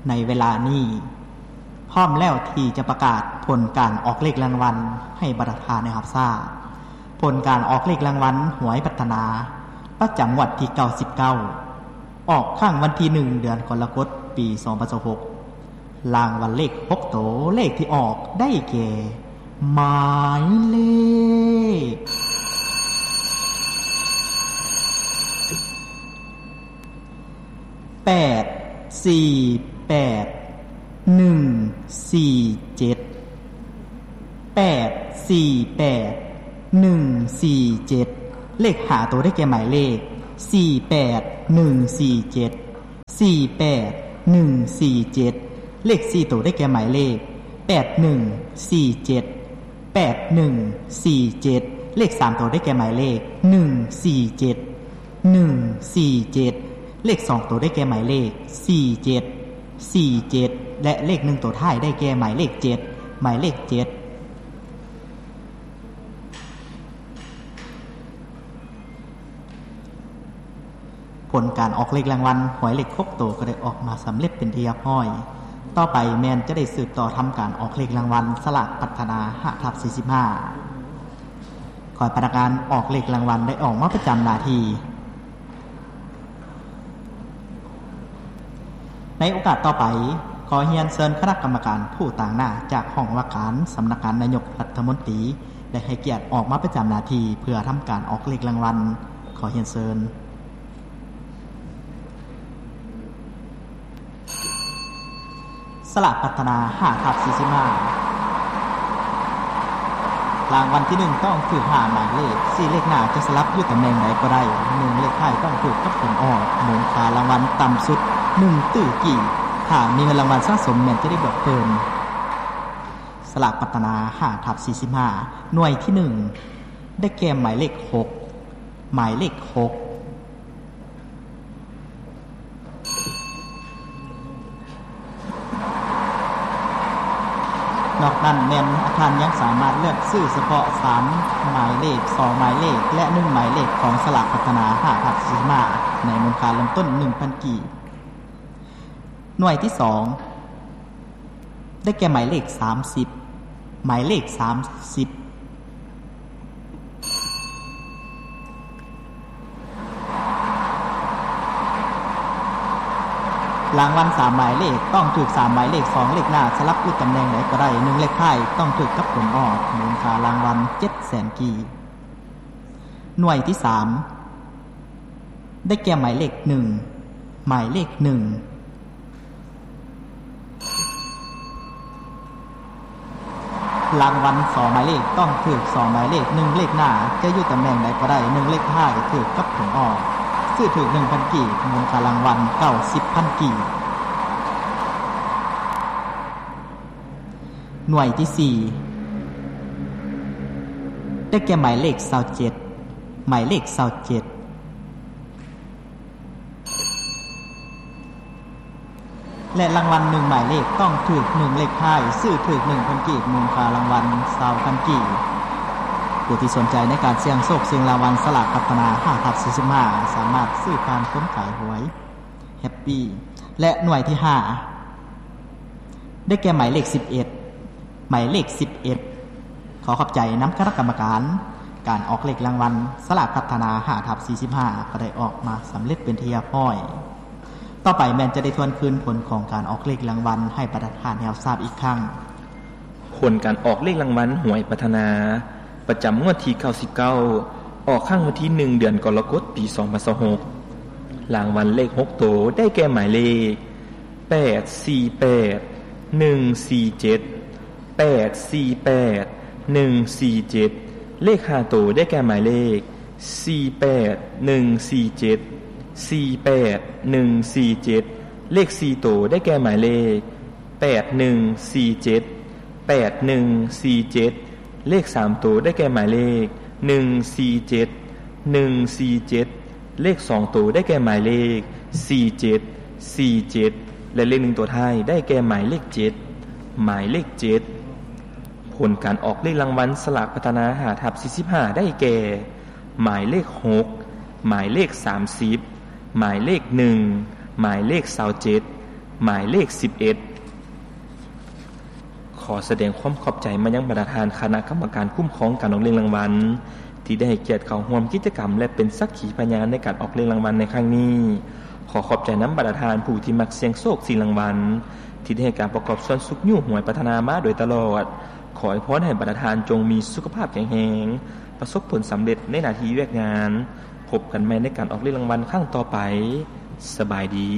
ໃນເວລານີ້ ພ້ອມແລ້ວທີ່ຈະປະກາດຜົນການອອກເລກລາງວັນໃຫ້ບັນດາທ່ານໄດ້ຮັບຊາບ. ຜົນການອອກເລກລາງວັນຫວຍພັດທະນາ ປະຈຳງວດທີເກົ້າສິບເກົ້າ ອອກຄັ້ງວັນທີໜຶ່ງ ເດືອນກໍລະກົດ ປີສອງພັນຊາວຫົກ. ລາງວັນເລກຫົກໂຕ ເລກທີ່ອອກໄດ້ແກ່ ໝາຍເລກ ແປດ ສີ່ ແປດ ໜຶ່ງ ສີ່ ເຈັດ ແປດ ສີ່ ແປດ ໜຶ່ງ ສີ່ ເຈັດ. ເລກຫ້າໂຕໄດ້ແກ່ໝາຍເລກ ສີ່ ແປດ ໜຶ່ງ ສີ່ ເຈັດ ສີ່ ແປດ ໜຶ່ງ ສີ່ ເຈັດ. ເລກສີ່ໂຕໄດ້ແກ່ໝາຍເລກ ແປດ ໜຶ່ງ ສີ່ ເຈັດ ແປດ ໜຶ່ງ ສີ່ ເຈັດ. ເລກສາມໂຕໄດ້ແກ່ໝາຍເລກ ໜຶ່ງ ສີ່ ເຈັດ ໜຶ່ງ ສີ່ ເຈັດ. ເລກສອງໂຕໄດ້ແກ່ໝາຍເລກ ສີ່ ເຈັດ ສີ່ ເຈັດ ແລະ ເລກໜຶ່ງໂຕທ້າຍໄດ້ແກ່ໝາຍເລກ ເຈັດ ໝາຍເລກ ເຈັດ. ຜົນການອອກເລກລາງວັນຫວຍເລກຫົກໂຕກໍໄດ້ອອກມາສຳເລັດເປັນທີ່ຮຽບຮ້ອຍ. ຕໍ່ໄປແມ່ນຈະໄດ້ສືບຕໍ່ທຳການອອກເລກລາງວັນສະຫຼາກພັດທະນາ ຫ້າທັບສີ່ສິບຫ້າ. ຂໍໃຫ້ພະນັກງານອອກເລກລາງວັນໄດ້ອອກມາປະຈຳໜ້າທີ່. ໃນໂອກາດຕໍ່ໄປ, ຂໍຮຽນເຊີນຄະນະກຳມະການຜູ້ຕາງໜ້າຈາກຫ້ອງວ່າການສຳນັກງານນາຍົກລັດຖະມົນຕີ ໄດ້ໃຫ້ກຽດອອກມາປະຈຳໜ້າທີ່ເພື່ອທຳການອອກເລກລາງວັນ. ຂໍຮຽນເຊີນ. ສະຫຼາກພັດທະນາ ຫ້າທັບສີ່ສິບຫ້າ. ລາງວັນທີໜຶ່ງຕ້ອງຖືກຫ້າໝາຍເລກ, ສີ່ເລກໜ້າຈະສະຫຼັບຢູ່ຕຳແໜ່ງໃດກໍໄດ້, ໜຶ່ງເລກທ້າຍຕ້ອງຖືກກັບຜົນອອກ, ມູນຄ່າລາງວັນຕ່ຳສຸດໜຶ່ງຕື້ກີບ, ຖ້າມີເງິນລາງວັນສະສົມແມ່ນຈະໄດ້ບວກເພີ່ມ. ສະຫຼາກພັດທະນາ ຫ້າທັບສີ່ສິບຫ້າ ໜ່ວຍທີໜຶ່ງ ໄດ້ແກ່ໝາຍເລກຫົກ ໝາຍເລກຫົກ. ນອກນັ້ນແມ່ນທ່ານຍັງສາມາດເລືອກຊື້ສະເພາະສາມໝາຍເລກ, ສອງໝາຍເລກ ແລະ ໜຶ່ງໝາຍເລກຂອງສະຫຼາກພັດທະນາ ຫ້າທັບສີ່ສິບຫ້າ ໃນມູນຄ່າເລີ່ມຕົ້ນໜຶ່ງພັນກີບ. ໜ່ວຍທີສອງ ໄດ້ແກ່ໝາຍເລກສາມສິບ ໝາຍເລກສາມສິບ. ລາງວັນສາມໝາຍເລກຕ້ອງຖືກສາມໝາຍເລກ, ສອງເລກໜ້າສະຫຼັບຢູ່ຕຳແໜ່ງໃດກໍໄດ້, ໜຶ່ງເລກທ້າຍຕ້ອງຖືກກັບຜົນອອກ, ມູນຄ່າລາງວັນເຈັດແສນກີບ. ໜ່ວຍທີສາມ ໄດ້ແກ່ໝາຍເລກໜຶ່ງ ໝາຍເລກໜຶ່ງ. ລາງວັນສອງໝາຍເລກຕ້ອງຖືກສອງໝາຍເລກ, ໜຶ່ງເລກໜ້າຈະຢູ່ຕຳແໜ່ງໃດກໍໄດ້, ໜຶ່ງເລກທ້າຍຖືກກັບຜົນອອກ. ຊື້ຖືກໜຶ່ງພັນກີບ, ມູນຄ່າລາງວັນເກົ້າສິບພັນກີບ. ໜ່ວຍທີສີ່ ໄດ້ແກ່ໝາຍເລກຊາວເຈັດ ໝາຍເລກຊາວເຈັດ ແລະ ລາງວັນໜຶ່ງໝາຍເລກຕ້ອງຖືກໜຶ່ງເລກທ້າຍ, ຊື້ຖືກໜຶ່ງພັນກີບ, ມູນຄ່າລາງວັນຊາວພັນກີບ. ຜູ້ທີ່ສົນໃຈໃນການສ່ຽງໂຊກສ່ຽງລາງວັນສະຫຼາກພັດທະນາ ຫ້າທັບສີ່ສິບຫ້າ ສາມາດຊື້ຜ່ານຄົນຂາຍຫວຍ ແຮັບປີ ແລະ ໜ່ວຍທີຫ້າ ໄດ້ແກ່ໝາຍເລກສິບເອັດ ໝາຍເລກສິບເອັດ. ຂໍຂອບໃຈນຳຄະນະກຳມະການການອອກເລກລາງວັນສະຫຼາກພັດທະນາ ຫ້າທັບສີ່ສິບຫ້າ ກໍໄດ້ອອກມາສຳເລັດເປັນທີ່ຮຽບຮ້ອຍ. ຕໍ່ໄປແມ່ນຈະໄດ້ທວນຄືນຜົນຂອງການອອກເລກລາງວັນໃຫ້ບັນດາທ່ານໄດ້ຮັບຊາບອີກຄັ້ງ. ຜົນການອອກເລກລາງວັນຫວຍພັດທະນາ ປະຈຳງວດທີເກົ້າສິບເກົ້າ ອອກຄັ້ງວັນທີໜຶ່ງ ເດືອນກໍລະກົດ ປີສອງພັນຊາວຫົກ. ລາງວັນເລກຫົກໂຕໄດ້ແກ່ໝາຍເລກ ແປດສີ່ແປດ ໜຶ່ງສີ່ເຈັດ ແປດສີ່ແປດ ໜຶ່ງສີ່ເຈັດ. ເລກຫ້າໂຕໄດ້ແກ່ໝາຍເລກ ສີ່ແປດ ໜຶ່ງສີ່ເຈັດ ສີ່ແປດ ໜຶ່ງສີ່ເຈັດ. ເລກສີ່ໂຕໄດ້ແກ່ໝາຍເລກ ແປດໜຶ່ງສີ່ເຈັດ ແປດໜຶ່ງສີ່ເຈັດ. ເລກສາມໂຕໄດ້ແກ່ໝາຍເລກ ໜຶ່ງສີ່ເຈັດ ໜຶ່ງສີ່ເຈັດ. ເລກສອງໂຕໄດ້ແກ່ໝາຍເລກ ສີ່ເຈັດ ສີ່ເຈັດ ແລະ ເລກໜຶ່ງໂຕທ້າຍໄດ້ແກ່ໝາຍເລກ ເຈັດ ໝາຍເລກ ເຈັດ. ຜົນການອອກເລກລາງວັນສະຫຼາກພັດທະນາ ຫ້າທັບສີ່ສິບຫ້າ ໄດ້ແກ່ ໝາຍເລກ ຫົກ ໝາຍເລກ ສາມສິບ ໝາຍເລກ ໜຶ່ງ ໝາຍເລກ ຊາວເຈັດ ໝາຍເລກສິບເອັດ ຂໍສະແດງຄວາມຂອບໃຈມາຍັງບັນດາທ່ານຄະນະກຳມະການຄຸ້ມຄອງການອອກເລກລາງວັນ ທີ່ໄດ້ໃຫ້ກຽດເຂົ້າຮ່ວມກິດຈະກຳ ແລະ ເປັນສັກຂີພະຍານໃນການອອກເລກລາງວັນໃນຄັ້ງນີ້. ຂໍຂອບໃຈນຳບັນດາທ່ານຜູ້ທີ່ມັກສ່ຽງໂຊກຊິງລາງວັນ ທີ່ໄດ້ໃຫ້ການປະກອບສ່ວນຊຸກຍູ້ຫວຍພັດທະນາມາໂດຍຕະຫຼອດ. ຂໍອວຍພອນໃຫ້ບັນດາທ່ານຈົ່ງມີສຸຂະພາບແຂງແຮງ, ປະສົບຜົນສຳເລັດໃນໜ້າທີ່ວຽກງານ. ພົບກັນໃໝ່ໃນການອອກເລກລາງວັນຄັ້ງຕໍ່ໄປ. ສະບາຍດີ.